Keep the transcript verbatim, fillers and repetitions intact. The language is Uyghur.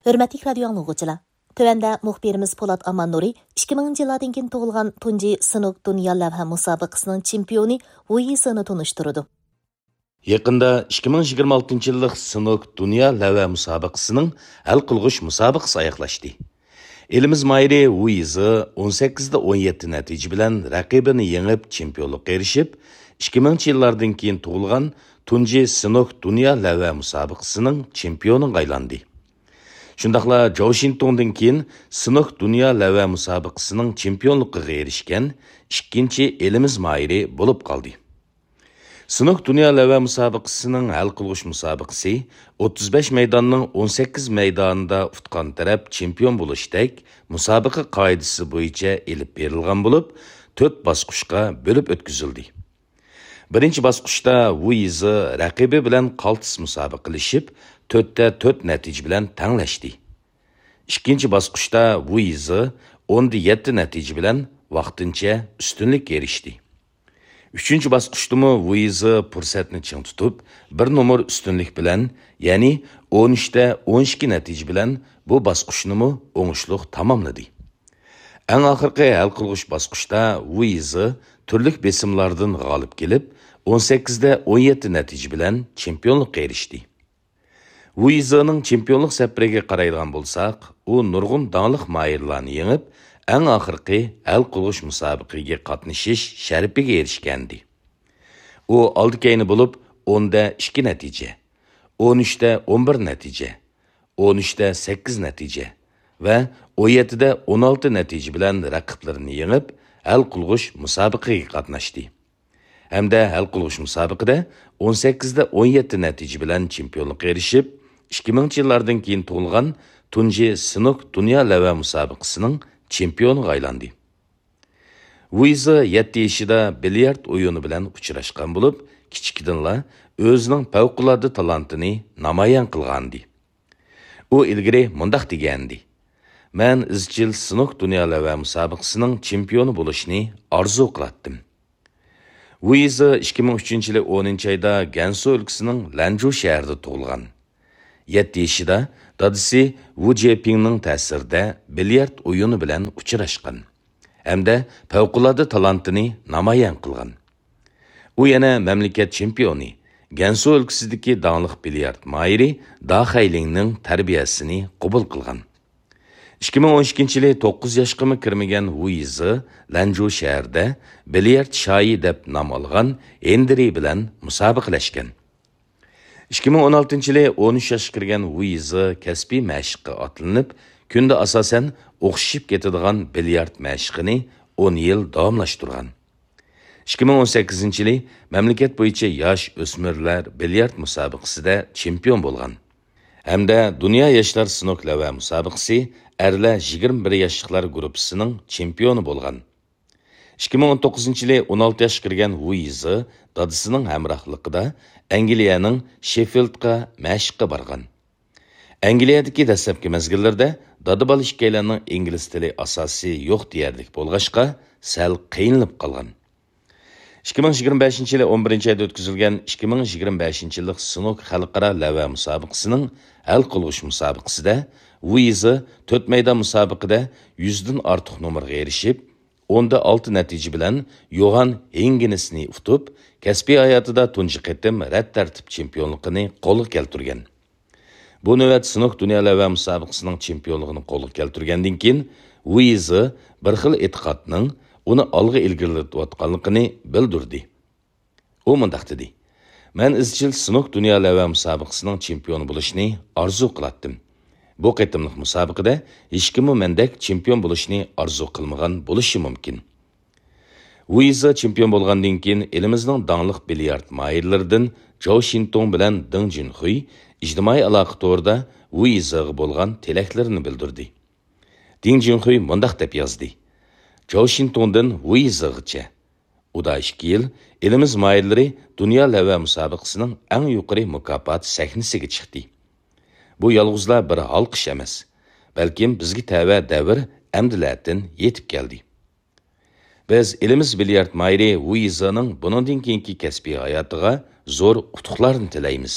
ھۆرمەتلىك رادىيو ئاڭلىغۇچىلار! تۆۋەندە مۇخبىرىمىز پولات ئاماننۇرى ئىككى مىڭىنچى يىللاردىن كېيىن تۇغۇلغان تۇنجى سىنوك دۇنيا لەۋھە مۇسابىقىسىنىڭ چېمپىيونى ۋۇ يىزېنى تونۇشتۇرىدۇ. يېقىندا ئىككى مىڭ يىگىرمە ئالتىنچى يىللىق سىنوك دۇنيا لەۋھە مۇسابىقىسىنىڭ ھەل قىلغۇچ مۇسابىقىسى ئاياغلاشتى. ئېلىمىز ماھىرى ۋۇ يىزې ئون سەككىز دە ئون يەتتە نەتىجە بىلەن رەقىبىنى يېڭىپ، چېمپىيونلۇققا ئېرىشىپ، ئىككى مىڭىنچى يىللاردىن كېيىن تۇغۇلغان تۇنجى سىنوك دۇنيا لەۋھە مۇسابىقىسىنىڭ چېمپىيونىغا ئايلاندى. شۇنداقلا جاۋ شىنتۇڭدىن كېيىن سىنوك دۇنيا لەۋھە مۇسابىقىسىنىڭ چېمپىيونلۇقىغا ئېرىشكەن ئىككىنچى ئېلىمىز ماھىرى بولۇپ قالدى. سىنوك دۇنيا لەۋھە مۇسابىقىسىنىڭ ھەل قىلغۇچ مۇسابىقىسى ئوتتۇز بەش مەيداننىڭ ئون سەككىز مەيدانىدا ئۇتقان تەرەپ چېمپىيون بولۇشتەك مۇسابىقە قائىدىسى بويىچە ئېلىپ بېرىلغان بولۇپ، تۆت باسقۇچقا بۆلۈپ ئۆتكۈزۈلدى. بىرىنچى باسقۇچتا ۋۇ يىزې رەقىبى بىلەن قالتىس مۇسابىقىلىشىپ، تۆتتە تۆت نەتىجە بىلەن تەڭلەشتى. ئىككىنچى باسقۇچتا ۋۇ يىزې ئوندا يەتتە نەتىجە بىلەن ۋاقتىنچە ئۈستۈنلۈككە ئېرىشتى. ئۈچىنچى باسقۇچتىمۇ ۋۇ يىزې پۇرسەتنى چىڭ تۇتۇپ، بىر نومۇر ئۈستۈنلۈك بىلەن، يەنى ئون ئۈچتە ئون ئىككى نەتىجە بىلەن بۇ باسقۇچنىمۇ ئوڭۇشلۇق تاماملىدى. ئەڭ ئاخىرقى ھەل قىلغۇچ باسقۇچتا ۋۇ يىزې تۈرلۈك بېسىملاردىن غالىب كېلىپ، ئون سەككىزدە ئون يەتتە نەتىجە بىلەن چېمپىيونلۇققا ئېرىشتى. ۋۇ يىزېنىڭ چېمپىيونلۇق سەپىرىگە قارايدىغان بولساق، ئۇ نۇرغۇن داڭلىق ماھىرلارنى يېڭىپ، ئەڭ ئاخىرقى ھەل قىلغۇچ مۇسابىقىگە قاتنىشىش شەرىپىگە ئېرىشكەنىدى. ئۇ ئالدى-كەينى بولۇپ ئوندا ئىككى نەتىجە، ئون ئۈچتە ئون بىر نەتىجە، ئون ئۈچتە سەككىز نەتىجە ۋە ئون يەتتىدە ئون ئالتە نەتىجە بىلەن رەقىبلىرىنى يېڭىپ، ھەل قىلغۇچ مۇسابىقىگە قاتناشتى. ھەمدە ھەل قىلغۇچ مۇسابىقىدە ئون سەككىزدە ئون يەتتە نەتىجە بىلەن چېمپىيونلۇققا ئېرىشىپ، ئىككى مىڭىنچى يىللاردىن كېيىن تۇغۇلغان تۇنجى سىنوك دۇنيا لەۋھە مۇسابىقىسىنىڭ چېمپىيونىغا ئايلاندى. ۋۇ يىزې يەتتە يېشىدا بىليارت ئويۇنى بىلەن ئۇچراشقان بولۇپ، كىچىكىدىنلا ئۆزىنىڭ پەۋقۇلئاددە تالانتىنى نامايان قىلغانىدى. ئۇ ئىلگىرى مۇنداق دېگەنىدى: «مەن ئىزچىل سىنوك دۇنيا لەۋھە مۇسابىقىسىنىڭ چېمپىيونى بولۇشنى ئارزۇ قىلاتتىم.» ۋۇ يىزې ئىككى مىڭ ئۈچىنچى يىلى ئونىنچى ئايدا گەنسۇ ئۆلكىسىنىڭ لەنجۇ شەھىرىدە تۇغۇلغان. يەتتە يېشىدا دادىسى ۋۇ جېپىڭنىڭ تەسىرىدە بىليارت ئويۇنى بىلەن ئۇچراشقان ھەمدە پەۋقۇلئاددە تالانتىنى نامايان قىلغان. ئۇ يەنە مەملىكەت چېمپىيونى، گەنسۇ ئۆلكىسىدىكى داڭلىق بىليارت ماھىرى دا خەيلىڭنىڭ تەربىيەسىنى قوبۇل قىلغان. ئىككى مىڭ ئون ئىككىنچى يىلى توققۇز ياشقىمۇ كىرمىگەن ۋۇ يىزې لەنجۇ شەھىرىدە بىليارت شاھى دەپ نام ئالغان ھېندرى بىلەن مۇسابىقىلەشكەن. ئىككى مىڭ ئون ئالتىنچى يىلى ئون ئۈچ ياشقا كىرگەن ۋۇ يىزې كەسپىي مەشىققە ئاتلىنىپ، كۈندە ئاساسەن ئوخشىشىپ كېتىدىغان بىليارت مەشىقىنى ئون يىل داۋاملاشتۇرغان. ئىككى مىڭ ئون سەككىزىنچى يىلى مەملىكەت بويىچە ياش ئۆسمۈرلەر بىليارت مۇسابىقىسىدە چېمپىيون بولغان ھەمدە دۇنيا ياشلار سنوك لەۋھە مۇسابىقىسى ئەرلەر يىگىرمە بىر ياشلىقلار گۇرۇپپىسىنىڭ چېمپىيونى بولغان. ئىككى مىڭ ئون توققۇزىنچى يىلى ئون ئالتە ياشقا كىرگەن ۋۇ يىزې دادىسىنىڭ ھەمراھلىقىدا ئەنگلىيەنىڭ شېففىلدقا مەشىققە بارغان. ئەنگلىيەدىكى دەسلەپكى مەزگىللىرىدە دادا-بالا ئىككىيلەننىڭ ئىنگلىز تىلى ئاساسى يوق دېيەرلىك بولغاچقا، سەل قىينىلىپ قالغان. ئىككى مىڭ يىگىرمە بەشىنچى يىلى ئون بىرىنچى ئايدا ئۆتكۈزۈلگەن ئىككى مىڭ يىگىرمە بەشىنچى يىللىق سنوك خەلقئارا لەۋھە مۇسابىقىسىنىڭ ھەل قىلغۇچ مۇسابىقىسىدە ۋۇ يىزې تۆت مەيدان مۇسابىقىدە يۈزدىن ئارتۇق نومۇرغا ئېرىشىپ، ئوندا ئالتە نەتىجە بىلەن يوھان ھېنگېنسنى ئۇتۇپ، كەسپىي ھاياتىدا تۇنجى قېتىم رەت تەرتىپ چېمپىيونلۇقىنى قولغا كەلتۈرگەن. بۇ نۆۋەت سنوك دۇنيا لەۋھە مۇسابىقىسىنىڭ چېمپىيونلۇقىنى قولغا كەلتۈرگەندىن كېيىن، ۋۇ يىزې بىر خىل ئېتىقادنىڭ ئۇنى ئالغا ئىلگىرىلىتىۋاتقانلىقىنى بىلدۈردى. ئۇ مۇنداق دېدى: «مەن ئىزچىل سنوك دۇنيا لەۋھە مۇسابىقىسىنىڭ چېمپىيونى بولۇشنى ئارزۇ قىلاتتىم. بۇ قېتىملىق مۇسابىقىدە ھېچكىممۇ مەندەك چېمپىيون بولۇشنى ئارزۇ قىلمىغان بولۇشى مۇمكىن.» ۋۇ يىزې چېمپىيون بولغاندىن كېيىن، ئېلىمىزنىڭ داڭلىق بىليارت ماھىرلىرىدىن جاۋ شىنتۇڭ بىلەن دېڭ جۈنخۇي ئىجتىمائىي ئالاقە تورىدا ۋۇ يىزېغا بولغان تىلەكلىرىنى بىلدۈردى. دېڭ جۈنخۇي مۇنداق دەپ يازدى: «جاۋ شىنتۇڭدىن ۋۇ يىزېغىچە. ئۇدا ئىككى يىل ئېلىمىز ماھىرلىرى دۇنيا لەۋھە مۇسابىقىسىنىڭ ئەڭ يۇقىرى مۇكاپات سەھنىسىگە چىقتى. بۇ يالغۇزلا بىر ھالقىش ئەمەس، بەلكىم بىزگە تەۋە دەۋر ئەمدىلەتىن يېتىپ كەلدى.» بىز ئېلىمىز بىليارت ماھىرى ۋۇ يىزېنىڭ بۇنىڭدىن كېيىنكى كەسپىي ھاياتىغا زور ئۇتۇقلارنى تىلەيمىز.